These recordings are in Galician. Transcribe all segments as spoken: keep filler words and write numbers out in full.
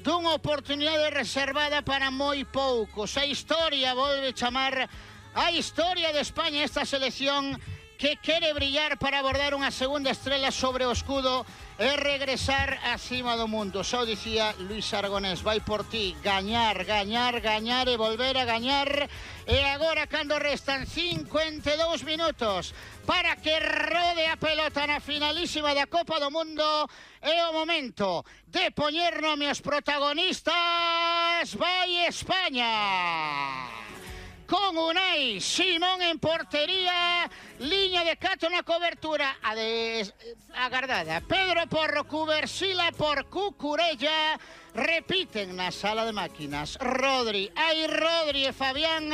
dunha oportunidade reservada para moi poucos. A historia volve chamar a historia de España, esta selección que quere brillar para abordar unha segunda estrela sobre o escudo e regresar acima do mundo. Só dicía Luis Aragonés, vai por ti, gañar, gañar, gañar e volver a gañar. E agora, cando restan cincuenta e dous minutos para que rode a pelota na finalísima da Copa do Mundo, é o momento de poñer nome aos protagonistas. Vai España! Con Unai Simón en portería, liña de catro na cobertura, a de agardada Pedro Porro, Cubersila por Cucurella, repiten na sala de máquinas Rodri, hai Rodri e Fabián,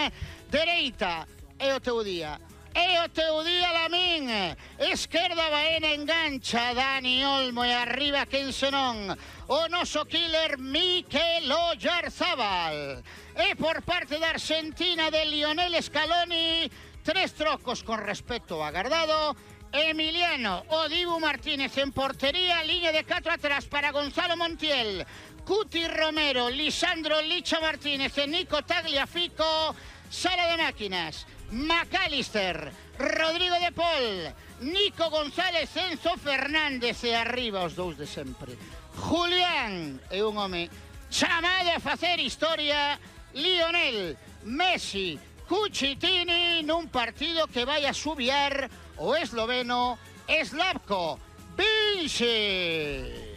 dereita, é o teu día. É o teu día, Lamín. Esquerda, Baena, engancha Dani Olmo e arriba, quen senón, o noso killer Mikel Oyarzabal. E por parte da Argentina de Lionel Scaloni, tres trocos con respecto agardado. Emiliano o Dibu Martínez en portería, liña de catro atrás para Gonzalo Montiel, Cuti Romero, Lisandro Licha Martínez e Nico Tagliafico. Sala de máquinas, McAllister, Rodrigo de Paul, Nico González, Enzo Fernández e arriba os dous de sempre. Julián é un home chamado a facer historia, Lionel Messi Cucitini, nun partido que vai a subiar o esloveno Slavko Vinci.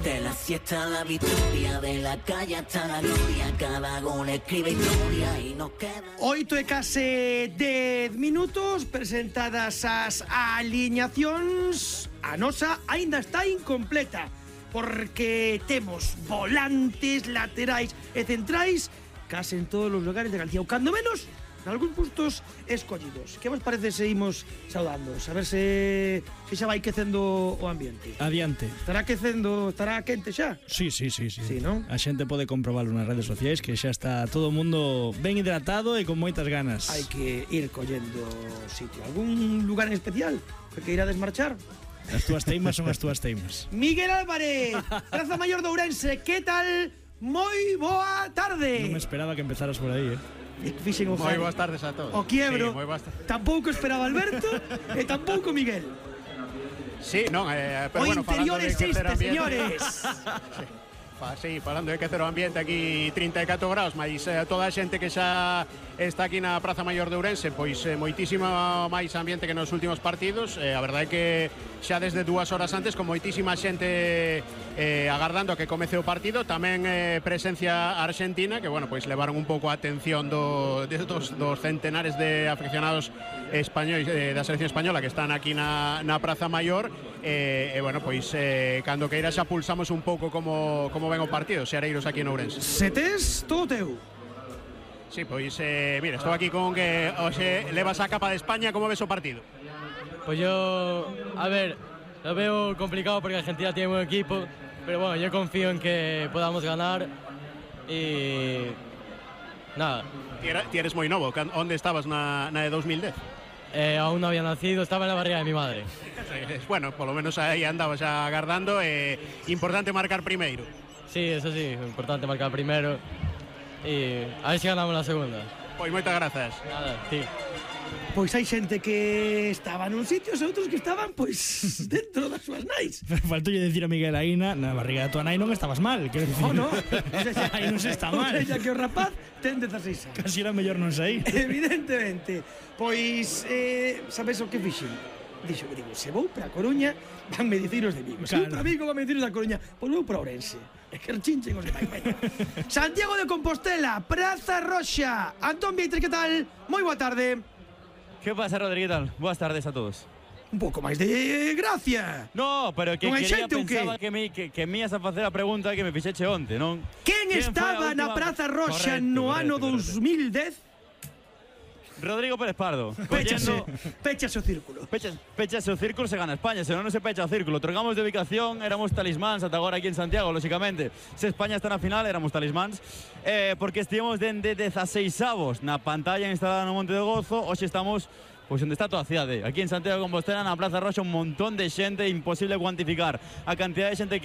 De la siesta a la victoria, de la calle hasta la gloria, cada gol escribe historia y nos queda... Oito e case dez minutos, presentadas as aliñacións, a nosa aínda está incompleta, porque temos volantes, laterais e centrais case en todos os lugares de Galicia, ou cando menos nalgúns postos escollidos. Que vos parece se imos saudando? A ver se, se xa vai quecendo o ambiente. Adiante. Estará quecendo, estará quente xa? Sí, sí, sí, sí. Sí, non? A xente pode comprobarlo nas redes sociais, que xa está todo o mundo ben hidratado e con moitas ganas. Hai que ir collendo sitio. Algún lugar en especial que irades marchar? As túas teimas son as túas teimas. Miguel Álvarez, Praza Maior de Ourense, que tal? Moi boa tarde. Non me esperaba que empezaras por aí, eh. Moi boas tardes a todos. O quiebro, sí, tampouco esperaba Alberto e tampouco Miguel. Sí, non, eh, pero o bueno, interior existe, señores. Sí. Fa, sí, falando de que cero ambiente aquí trinta e catro graus, mas eh, toda a xente que xa está aquí na Praza Maior de Ourense, pois eh, moitísimo máis ambiente que nos últimos partidos. Eh, a verdade é que xa desde dúas horas antes, con moitísima xente eh, agardando a que comece o partido, tamén eh, presencia argentina, que bueno, pois levaron un pouco a atención do, de, dos, dos centenares de aficionados españois eh, da selección española que están aquí na, na Praza Maior. E, eh, eh, bueno, pois eh, cando queira xa pulsamos un pouco como, como ven o partido, Xereiros aquí en Ourense. Se tes todo teu. Sí, pois, eh, mira, estou aquí con que hoxe levas a capa de España, como ves o partido? Pues yo, a ver, lo veo complicado porque Argentina tiene buen equipo, pero bueno, yo confío en que podamos ganar y nada. Ti eres moi novo, onde estabas na, na de dos mil dez? Eh, aún no había nacido, estaba en la barriga de mi madre. Bueno, por lo menos aí andabas xa agardando. É eh, importante marcar primeiro. Sí, eso sí, importante marcar primero y a ver si ganamos la segunda. Pois moitas grazas. Nada, sí. Pois hai xente que estaba nun sitio e outros que estaban, pois, dentro das súas nais. Faltoulle decir a Miguel Aina, na barriga da tua nai non estabas mal, quero dicir. Oh, no. Aí non se está mal. O sea, que o rapaz ten dezaseis anos. Casi era mellor non sair. Evidentemente. Pois, eh, sabes o que fixen? Dixo que digo, se vou para a Coruña, vanme dicir os de Vigo. Se vou para Vigo, vanme dicir os da Coruña. Pois vou para Ourense. É que chinchen os de Vigo. Santiago de Compostela, Praza Roxa. Antón Vietres, que tal? Moi boa tarde. ¿Qué pasa, Rodrigo? ¿Qué tal? Buenas tardes a todos. Un pouco máis de gracia. No, pero que non quería, xente, pensaba que me, que, que me ibas a facer a pregunta que me fixeche onte, non? Quen estaba na Praza Roxa no ano dos mil dez? Rodrigo Pérez Pardo. Péchase, péchase o círculo. Péchase, péchase o círculo, se gana España, se non non se pecha o círculo. Trocamos de ubicación, éramos talismáns ata agora aquí en Santiago, lóxicamente. Se España está na final, éramos talismáns. Eh, porque estivemos dende dezaseis avos na pantalla instalada no Monte de Gozo. Hoxe estamos pois onde está toda a cidade. Aquí en Santiago de Compostela, na Praza Roxa, un montón de xente, imposible cuantificar a cantidad de xente que